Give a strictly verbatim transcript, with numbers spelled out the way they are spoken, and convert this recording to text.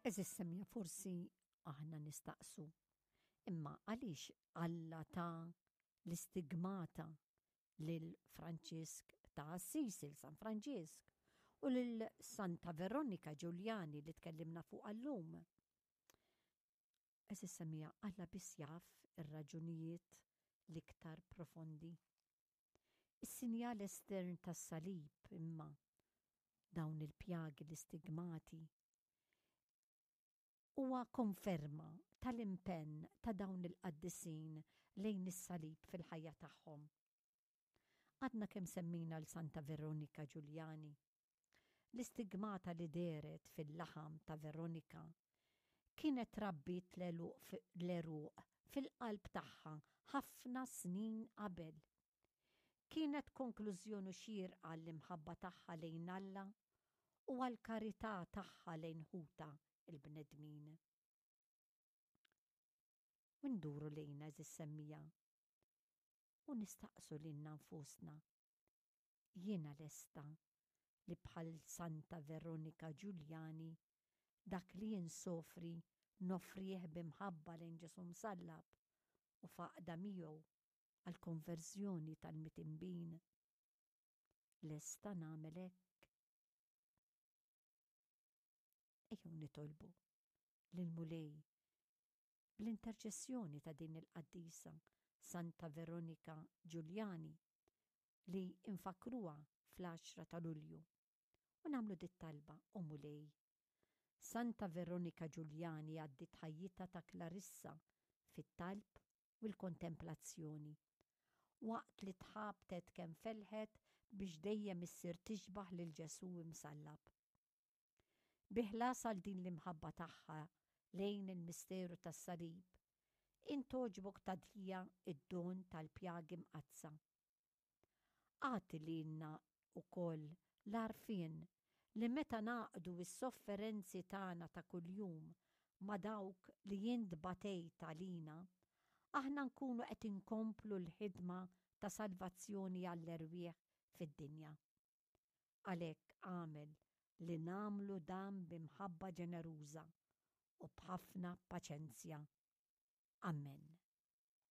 Għeżież semmiegħa, forsi aħna nistaqsu, imma għaliex Alla ta l-istigmata lil Franġisk ta' Assisi, San Franġisk, u lil Santa Veronika Giuliani li tkellimna fuq illum? Għeżież semmiegħa, Alla biss jaf ir-raġunijiet l-iktar profondi. Is-sinjal estern tas-salib imma, dawn il-pjagi, l-istigmati, huwa konferma tal-impenn ta' dawn il-qaddisin lejn is-salib fil-ħajja tagħhom. Għadna kemm semmina 'l Santa Veronika Giuliani. L-istigmata li dehret fil-laħam ta' Veronika kienet rabbit l-għeruq fil-qalb tagħha ħafna snin qabel. Kienet konklużjoni xierqa l-imħabba tagħha lejn Alla u għall-karità tagħha lejn ħutha il-bnedmin. U nduru lejna, għeżież semmiegħa, u nistaqsu lilna nfusna: jiena lesta li bħal Santa Veronika Giuliani dak li jinsofri noffrih b'imħabba lejn Ġesù msallab u f'għaqda miegħu għal-konverżjoni tal-midinbin? Lesta nagħmel hekk? Ejjew nitolbu lill-Mulej bl-interċessjoni ta' din il-qaddisa Santa Veronika Giuliani li infakruha fl-għaxra ta' Lulju u nagħmlu dit-talba: O Mulej, Santa Veronika Giuliani għaddiet ħajjitha ta' Klarissa fit-talb u l-kontemplazzjoni, waqt li tħabtet kemm felħet biex dejjem issir tixbaħ lil Ġesù imsallab. Bi ħlas għal din l-imħabba tagħha lejn il-misteru tas-salib, int għoġbok tagħtiha id-don tal-pjagi mqaddsa. Agħti lilna wkoll l-għarfien li meta ngħaqqdu s-sofferenzi tagħna ta' kuljum ma' dawk li int batejt għalina, aħna nkunu qed inkomplu l-ħidma ta' salvazzjoni għall-erwieħ fid-dinja. Għalhekk agħmel li nagħmlu dan b'imħabba ġeneruża u b'ħafna paċenzja. Amen.